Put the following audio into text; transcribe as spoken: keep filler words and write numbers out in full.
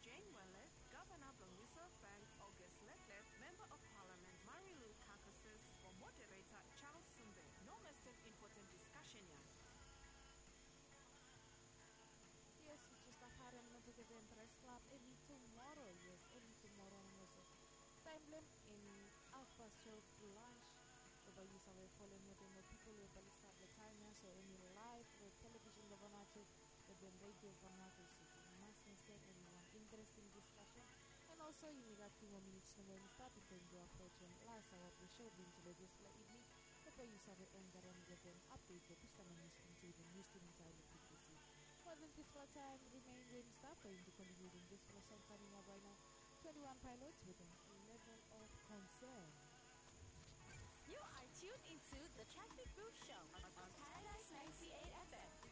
Jane Wellet, Gavana blong Reserve Bank August Letlet, Member of Parliament Marilu Carcasses, o Moderator Charles Sumbe. No mistake, important discussion ya. Yes, we just stap harem noto keten Press Club. Em i tumoro, yes, em i tumoro noso. Taem blong em i half past twelve lunch. Bae yu save folem wetem ol pipol we bae i stap long taem ya, so em i laev long televisen blong Vanuatu, wetem redio Vanuatu. So yu mas no stap eni wan interesting discussion. And also yumi gat few more minutes nomo i stap bifo yumi go aprojem las aoa blong show blong yumi tede dispela evening. Bae yu save en garem wetem update blong dispela nius blong yumi tede nius team insait long P T C. Wetem dispela taem remain we yumi stap, bae yumi kontiniu wetem dispela song kaming ap right now. Twenty-one Pilots wetem Level of Concern. You are tuned into the Traffic Booth Show on Paradise ninety-eight F M.